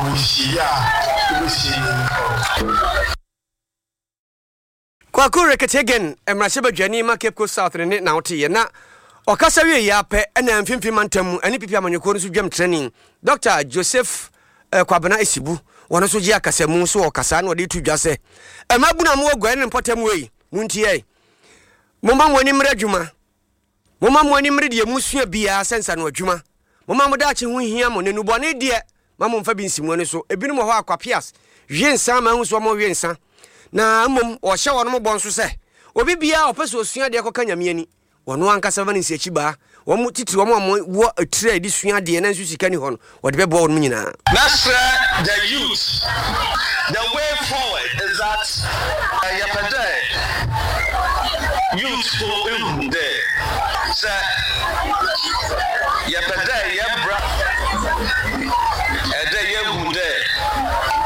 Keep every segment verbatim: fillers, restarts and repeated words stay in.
Wɔsie a wobɛsie yɛn. Kwaku Ricketts-Hagan, mmarahyɛbadwani ma Cape Coast South ne ne na woteeɛ na ɔkasa wie yɛ apɛ ɛna Mfimfini Mantam mu ɛne P P amanyɔkuo no so dwam trani Doctor Joseph eh, Kwabena Esibu wɔn nso gye akasamu so wɔ kasa na wɔde to dwa sɛ mmabunu a mowɔ guare ne mpɔtam wei montie, momma mo ani mmerɛ adwuma, momma mo ani mmere deɛ musua biara sɛ nsano adwuma, momma mo daakye ho hia mo na nnubɔne deɛ ma momfa bi nsi mo ani so. Ebinom wɔ hɔ a kwapias hwe nsa ma ahu so ɔmo hwe nsa na mmom wɔhyɛ wɔn mo bɔ nso sɛ obi biara ɔpɛ sɛ osua deɛ kɔka Nyame ani wɔn ankasa bɛma no nsiakyi baa wɔn titiri wɔn a wɔwɔ etire a yɛde sua adeɛ na nso sika ni hɔ no, wɔde bɛboa wɔn nyinaa. Mɛsrɛ the youth, the way forward is that yɛpɛ dɛ youth fo ehu dɛ sɛ yɛpɛ dɛ yɛbra ɛdɛ yɛhu dɛ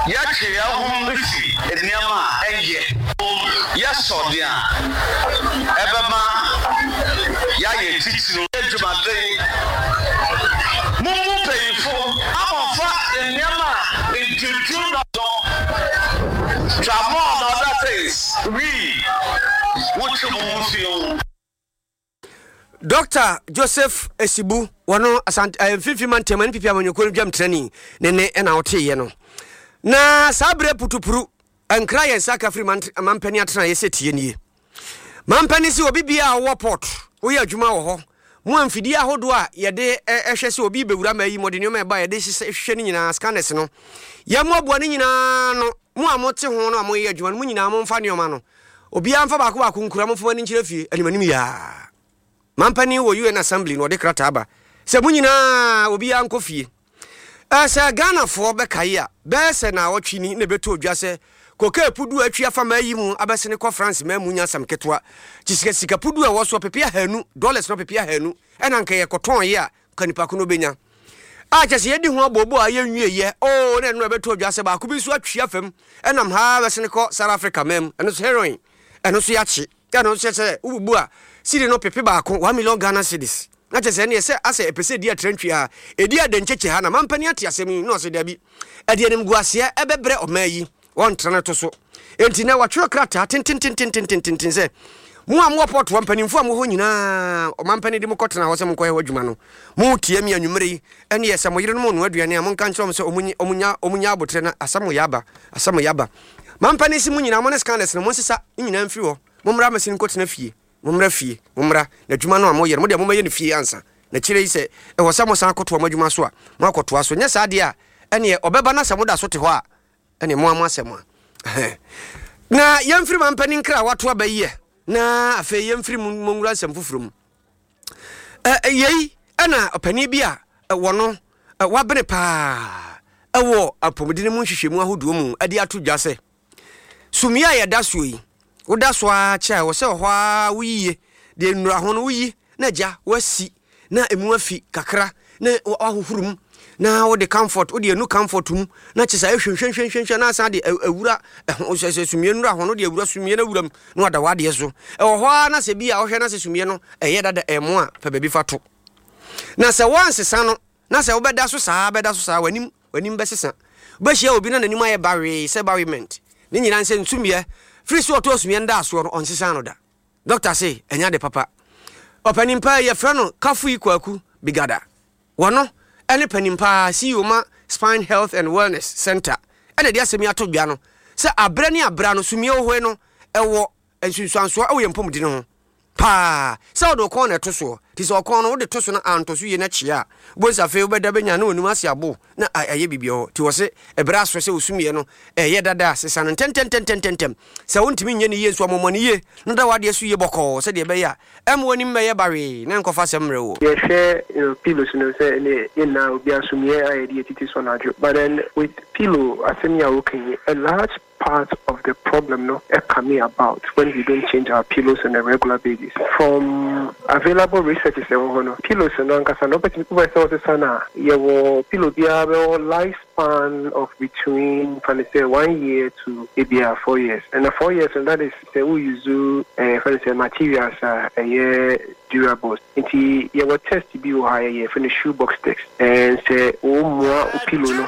yɛtwe yɛn ho fi nneɛma a ɛnyɛ yɛsɔ deɛ a ɛbɛma yɛayɛ titiri adwumaden mumu mpanyinfo amɔfa nneɛma a ntutu dɔdɔ tramol and other things wii wotwe mo ho fi ho. Doctor Joseph Esibu wɔno Asante eh, Mfimfini Mantam N P P amanyɔkuo no dwam trani ne ne ɛna woteeɛ no. Na saa berɛ putupuru nkra yɛn nsa ka firi mampani atena yɛ sɛ tie nie. Mampani sɛ obi bia a wowɔ port woyɛ adwuma wɔ hɔ mo a mfidie ahodoɔ a yɛde ɛhwɛ sɛ obi bɛwura ma yi mɔde nneɛma ɛba yɛde hwehwɛ no nyinaa, scanners no, yɛmmoaboa no nyinaa no. Mo a mote ho no a moyɛ adwuma no, mo nyinaa momfa nneɛma no, obiara mfa baako baako nkura, momfa ani nkyerɛ fie animanim yaa. Mampani wɔ U N Assembly na ɔde krataa ba sɛ mo nyinaa obiara nkɔ fie. Sɛ Ghanafoɔ bɛkae a, bɛyɛ sɛ na ɔtwe ni na ɛbɛtɔ odwa sɛ kokaa pudu a atwi afa maa yi mu abɛsene kɔ France maa mu nya asɛm ketewa kyi sika sika pudu a ɛwɔ so ɔpepe ahanu, dollars no ɔpepe ahanu ɛna nka yɛkɔtɔn yi a ka nipa ko no bɛnya a kyɛ sɛ yɛdi ho abobo a yɛnwie yɛ oo. Na ɛno ɛbɛtɔ odwa sɛ baako bi nso atwi afam ɛnam ha bɛsene kɔ South Africa maa mu, ɛno nso heroin, ɛno nso yɛakye, ɛno nso sɛ wobubu a sidi no pepe baako, one million Ghana cedis, na kyɛ sɛ ɛneɛ sɛ asɛ ɛpɛ sɛ ɛdi atrantwie a ɛdi adankyekye ha na mampani ate asɛm yi na ɔsɛ dabi, ɛde animguaseɛ ɛbɛbrɛ ɔmaa yi wɔntra no to so. Enti na wɔatwerɛ krataa tentententententen sɛ mo a mowɔ port hɔ mpanimfoɔ a mowɔ hɔ nyinaa, ɔmampani de mo kɔtena hɔ sɛ monkɔyɛ hɔ adwuma no, motie mi anwummerɛ yi, ɛneɛ sɛ mo yerenom ɔno aduane a monka nkyerɛ wɔn sɛ ɔmunya ɔmunya abotrɛ na asɛm yɛ aba, asɛm yɛ aba. Mampani si mo nyinaa mo ne scanners no monsesa ne nyinaa mfiri hɔ, mommra mɛsene nkɔtena fie, mommra fie, mommra na adwuma no a moyɛ no mo deɛ mommɛyɛ no fie ansa na kyerɛ yi sɛ ɛwɔ sɛ mosan akɔtoa mo adwuma so a moakɔtoa so. Nyɛ saa deɛ a ɛneɛ ɔbɛba na sɛ moda so te hɔ a ɛne mo amo asɛm a na yɛmfiri ma mpani nkra a wato aba yi na afei yɛmfiri mu monwura nsɛm foforɔ mu. Yei ɛna ɔpanin bi a wɔ no wabene paa ɛwɔ apɔmuden mu nhwehwɛmu ahodoɔ mu ɛde ato dwa sɛ sumie a yɛda soɔ yi, woda so ara kyɛ a ɛwɔ sɛ ɔhɔ ara woyie deɛ nnura ho no woyi na agya wasi na emu afi kakra na wahohoro mu na wode comfort, wode anu comfort mu na kyɛ sɛ ɛhwehwɛhwehwɛ na asan de awura ɛho sɛ sɛ sumie nnura ho no de awura sumie no awura mu na wada wadeɛ so. Ɛwɔ hɔ ara na sɛ bi a wohwɛ na sɛ sumie no ɛyɛ dada ɛmo a pɛ baabi fa to na sɛ woansesa no na sɛ wobɛda so saa bɛda so saa, w'anim w'anim bɛsesa, wobɛhyia obi na n'anim ayɛ bawee sɛ bawement ne nyinaa nsɛ nsumiɛ firi so ɔtɔ sumiɛ no da soɔ no ɔnsesa no da. Doctor se ɛnya de papa. Ɔpanin paa yɛfrɛ no Kafui Kwaku Bigada, wɔno ɛne panin paa C E O ma Spine Health and Wellness Center ɛna de asɛm yi ato dwa no sɛ abrɛ ne abra no sumie wɔ no ɛwɔ nsunsuansoɔ ɛwɔ yɛn mpɔmudi no ho paa sɛ wode ɔkɔn na ɛto soɔ nti sɛ ɔkɔn no wode to so no antɔ so yie no kyea a wobɛhu sɛ afei wobɛda bɛnya na w'anim ase abo na ɛyɛ biribi hɔ. Nti wɔ se ɛberɛ aso sɛ wosumiɛ no ɛyɛ dada a sesa no ntɛntɛntɛntɛntɛm. Sɛ wontumi nyɛ ne yie nso amɔmmɔ ne yie na da wadeɛ so yie bɔkɔɔ sɛdeɛ ɛbɛyɛ a ɛma w'anim bɛyɛ bawee na nkɔfa asɛm mmerɛ wo. Yɛhwɛ you know, pillows no sɛ ne yɛn nyinaa obi asomyɛ a yɛde yɛtiti so anadwo, but then with pillow asɛm yi a woka yi, a large part of the problem no coming about when we don't change our pillows on a regular basis. From available researches ɛwɔ hɔ no, pillows no ankasa no wobɛtumi wobɛ sɛ wosesa no a yɛwɔ pillow biara bɛwɔ life span of between fa ne sɛ one year to ebia four years, and four years no, that is sɛ wo use ɛɛ fa ne sɛ materials a ɛyɛ durable. Nti yɛwɔ test bi wɔ ha yɛyɛ fɛ no shoe box test, ɛn sɛ wo mmoa wo pillow no